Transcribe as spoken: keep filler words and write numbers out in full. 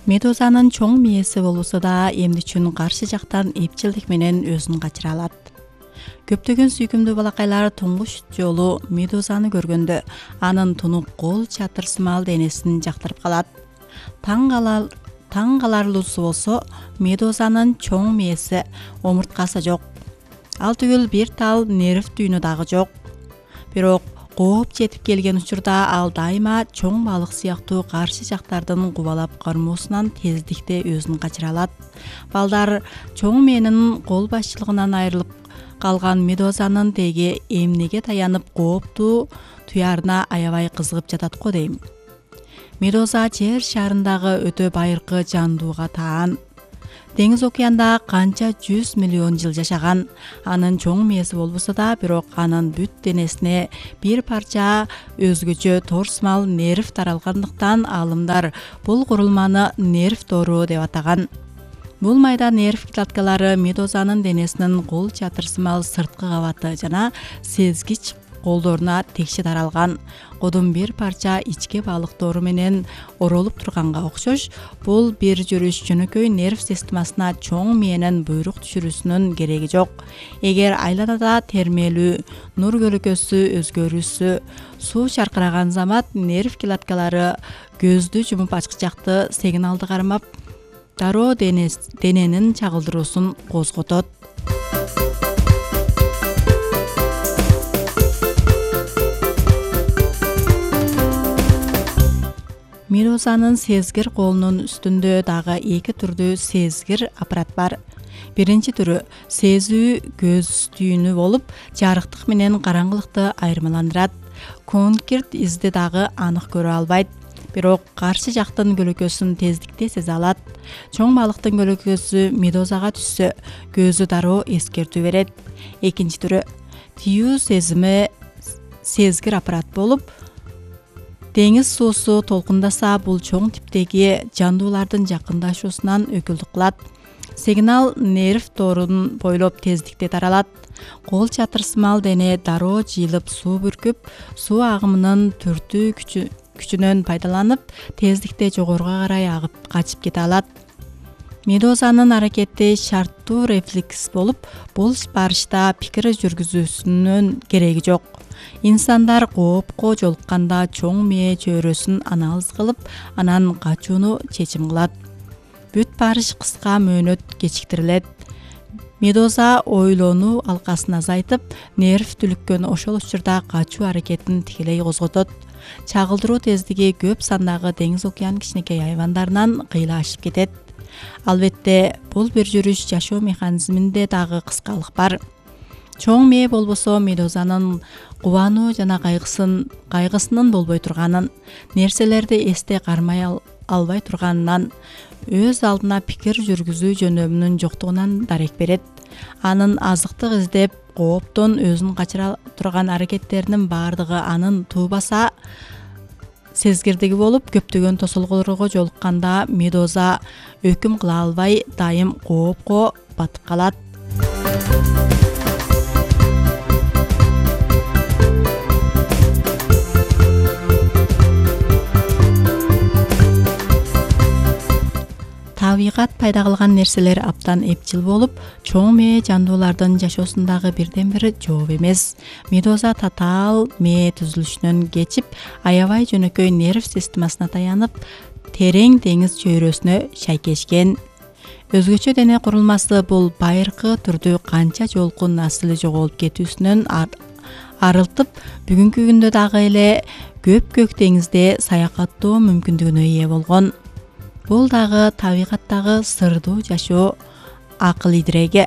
Медузанын чоң мээси болбосо да эмне үчүн каршы жактан эпчилдик менен өзүн качыра алат? Көптөгөн сүйкүмдүү балакайлар туңгуч жолу медузаны көргөндө анын тунук кол чатырсымал денесин жактырып калат. Таң калар таң каларлуусу болсо медузанын чоң мээси, омурткасы жок. Ал түгүл бир тал нерв түйүнү дагы жок. Бирок кооп жетип келген учурда ал дайыма чоң балык сыяктуу каршы жактардын кубалап кармоосунан тездикте өзүн качыра алат. Балдар чоң мээнин кол башчылыгынан айрылып калган медузанын теги эмнеге таянып кооптуу туярына аябай кызыгып жатат го дейм. Медуза жер шарындагы өтө байыркы жандууга таан. Деңиз океанда канча жүз миллион жыл жашаган. Анын чоң мээси болбосо да, бирок анын бүт денесине бир парча өзгөчө торсмал нерв таралгандыктан аалымдар бул курулманы нерв тору деп атаган. Бул майда нерв клеткалары медузанын денесинин кол чатырсымал сырткы кабаты жана сезгич колдоруна текши таралган. Кодун бир парча ичке балыктору менен оролуп турганга окшош, бул бир жүрүш жөнөкөй нерв системасына чоң мээнин буйрук түшүрүүсүнүн кереги жок. Эгер айланада термелүү, нур көлөкөсү өзгөрүүсү, суу чаркыраган замат нерв клеткалары көздү жумуп ачкычакты сигналды кармап, дароо дененин чагылдыруусун козготот. Медузанын сезгир колунун үстүндө дагы эки түрдүү сезгир аппарат бар. Биринчи түрү сезүү көз түйүнү болуп, жарыктык менен караңгылыкты айырмаландырат. Конкирт изди дагы анык көрө албайт, бирок каршы жактын көлөкөсүн тездикте сезе алат. Чоң балыктын көлөкөсү медузага түшсө, көзү дароо эскертүү берет. Экинчи түрү тиүү сезими сезгир аппарат болуп, деңиз суусу толкундаса бул чоң типтеги жандуулардын жакындашуусунан өкүлдүк кылат. Сигнал нерв торун бойлоп тездикте таралат. Кол чатырсымал дене дароо жыйылып суу бүркүп, суу агымынын түртүү күчү күчүнөн пайдаланып, тездикте жогоруга карай агып качып кете алат. Медузанын аракети шарттуу рефлекс болуп, бул барышта пикир жүргүзүүсүнүн кереги жок. Инсандар коопко жолукканда чоң мээ чөйрөсүн анализ кылып, анан качууну чечим кылат. Бүт барыш кыска мөөнөт кечиктирилет. Медуза ойлонуу алкасын азайтып, нерв түлүккөн ошол учурда качуу аракетин тикелей козготот. Чагылдыруу тездиги көп сандагы деңиз океан кичинекей айвандарынан кыйла ашып кетет. Албетте, бул бир жүрүш жашоо механизминде дагы кыскалык бар. Чоң мээ болбосо медузанын кубануу жана кайгысын кайгысынын болбой турганын, нерселерди эсте кармай ал, албай турганынан, өз алдына пикир жүргүзүү жөнөмүнүн жоктугунан дарек берет. Анын азыктык издеп, кооптон өзүн качыра турган аракеттеринин баардыгы анын туубаса сезгирдиги болуп, көптөгөн тосолгоолорго жолукканда медуза өкүм кыла албай, дайым коопко батып калат. Табигат пайда кылган нерселер абдан эпчил болуп, чоң мээ жандуулардын жашоосундагы бирден бир жооп эмес. Медуза татаал мээ түзүлүшүнөн кечип, аябай жөнөкөй нерв системасына таянып, терең деңиз чөйрөсүнө шайкешкен. Өзгөчө дене курулмасы бул байыркы түрдүү канча жолку насылы жоголуп кетүүсүнөн арылтып, бүгүнкү күндө дагы эле көп көк деңизде саякаттоо мүмкүндүгүнө ээ болгон. Бул дагы табигаттагы сырдуу жашоо акыл идиреги.